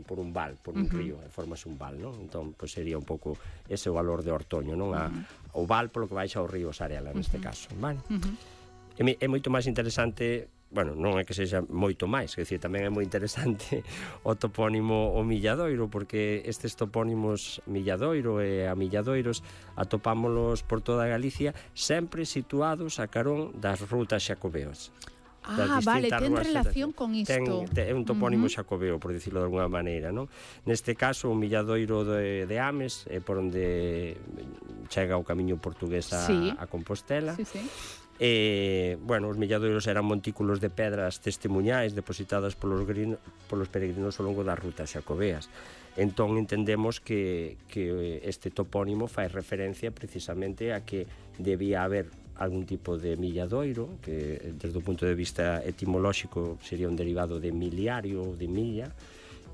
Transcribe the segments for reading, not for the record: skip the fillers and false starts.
un val, por un río, e formas un val, non? Entón, pois sería un pouco ese o valor de Ortoño, non? O val polo que baixa ao río Sarela, neste caso, vale? É moito máis interesante, bueno, non é que sexa moito máis, quer dicir, tamén é moi interesante o topónimo o Milladoiro, porque estes topónimos Milladoiro e a Milladoiros atopámolos por toda Galicia, sempre situados a carón das rutas xacobeas. Vale, ten relación con isto. É un topónimo xacobeo, por dicirlo de alguna maneira, non? Neste caso, o Milladoiro de Ames é por onde chega o camiño portugués a Compostela. Bueno, os milladoiros eran montículos de pedras testemunhais depositadas polos peregrinos ao longo das rutas xacobeas. Entón entendemos que este topónimo fai referencia precisamente a que debía haber algún tipo de milladoiro, que desde o punto de vista etimolóxico sería un derivado de miliario ou de milla,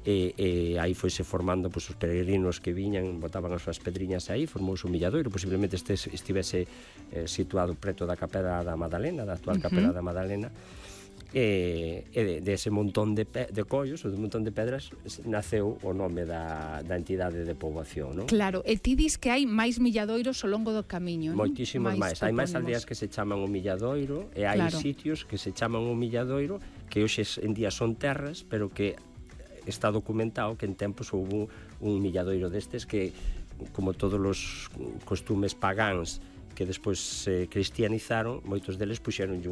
e aí foise formando os peregrinos que viñan, botaban as súas pedriñas aí, formouse un milladoiro, posiblemente estivese situado preto da Capela da Madalena, da actual Capela da Madalena, e dese montón de collos ou de montón de pedras naceu o nome da entidade de poboación, non? Claro, e ti dis que hai máis milladoiros ao longo do camiño, non? Moitísimos máis, hai máis aldeas que se chaman o Milladoiro e hai sitios que se chaman o Milladoiro que hoxe en día son terras, pero que está documentado que en tempos houve un milladoiro destes que, como todos os costumes pagáns que despois se cristianizaron, moitos deles puxeronlle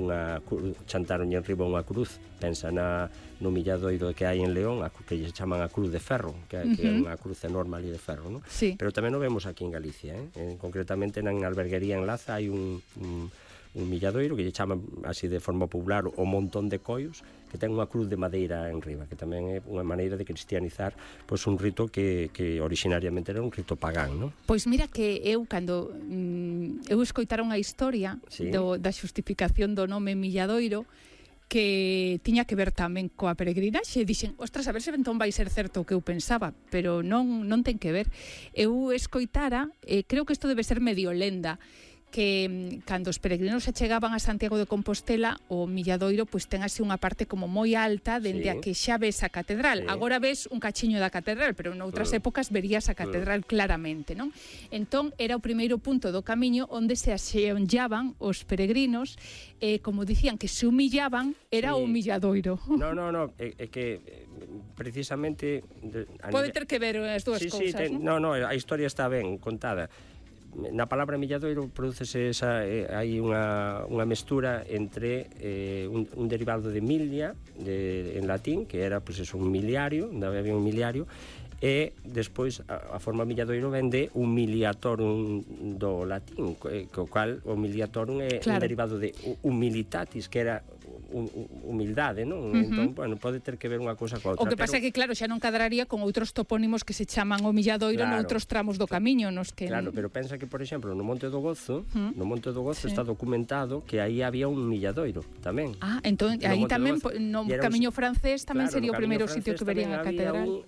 chantaronlle enriba unha cruz. Pensa no milladoiro que hai en León, que lle chaman a cruz de ferro, que é unha cruz enorme ali de ferro, non? Pero tamén o vemos aquí en Galicia, concretamente na alberguería en Laza hai un milladoiro que lle chaman así de forma popular o montón de collos, que ten unha cruz de madeira en riba, que tamén é unha maneira de cristianizar un rito que originariamente era un rito pagán, non? Pois mira que eu, cando eu escoitaron a historia da xustificación do nome Milladoiro, que tiña que ver tamén coa peregrinaxe, e dixen, ostras, a ver se entón vai ser certo o que eu pensaba, pero non ten que ver. Eu escoitara, creo que isto debe ser medio lenda, que cando os peregrinos se chegaban a Santiago de Compostela, o Milladoiro pois ten así unha parte como moi alta dende a que xa ves a catedral. Agora ves un cachiño da catedral, pero noutras épocas verías a catedral claramente, non? Entón era o primeiro punto do camiño onde se axeonllaban os peregrinos, e como dicían que se humillaban, era o Milladoiro. No, é que precisamente pode ter que ver as dúas cousas, non? No, a historia está ben contada. Na palabra milladoiro prodúcese hai unha mestura entre un derivado de milia en latín, que era un miliario, había un miliario, e despois a forma milladoiro vende humiliatorum do latín, co cal o humiliatorum é un derivado de humilitatis, que era humildade, non? Entón, bueno, pode ter que ver unha cousa coa outra. O que pasa é que, claro, xa non cadraría con outros topónimos que se chaman o Milladoiro noutros tramos do camiño, nos que... Claro, pero pensa que, por exemplo, no Monte do Gozo, está documentado que aí había un milladoiro tamén. Entón, aí tamén, no camiño francés, tamén sería o primeiro sitio que verían a catedral.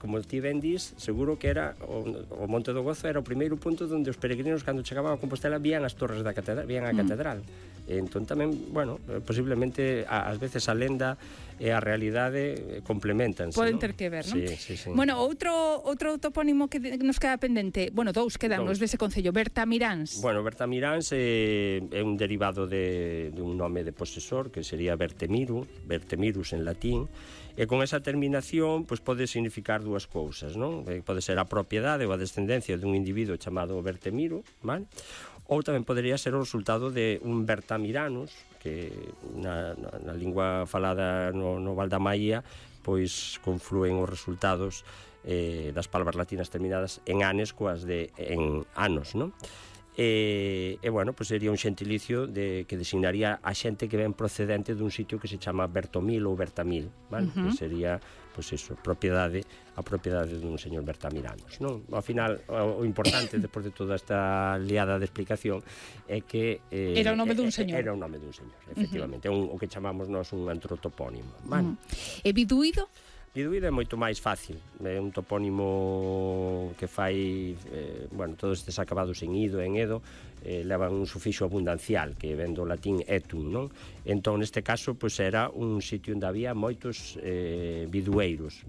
Como ti ben dis, seguro que era o Monte do Gozo era o primeiro punto onde os peregrinos, cando chegaban a Compostela, vían as torres da catedral, vían a catedral. Entón tamén, bueno, posiblemente ás veces a lenda e a realidade complementanse. Poden ter que ver, non? Sí. Bueno, outro topónimo que nos queda pendente, bueno, dous quedan nos dese concello, Bertamiráns. Bueno, Bertamiráns é un derivado dun nome de posesor, que sería Bertemirus en latín, e con esa terminación pois pode significar dúas cousas, non? Pode ser a propiedade ou a descendencia dun individuo chamado Bertemiro, vale? Ou tamén podería ser o resultado de un Bertamiranus, que na lingua falada no Val da Maía pois conflúen os resultados das palabras latinas terminadas en anes coas en anos, non? E bueno, pois sería un xentilicio que designaría a xente que ven procedente dun sitio que se chama Bertomil ou Bertamil, vale? Que sería, pois iso, a propiedade dun señor Bertamiranos, non? Ao final, o importante, despois de toda esta liada de explicación, é que era o nome dun señor. Era o nome dun señor, efectivamente. É o que chamamos nós un antropopónimo, vale? E Biduído? Biduído é moito máis fácil, é un topónimo que fai, bueno, todos estes acabados en ido, en edo, levan un sufixo abundancial, que ven do latín etum, non? Entón, neste caso, pois era un sitio onde había moitos bidueiros,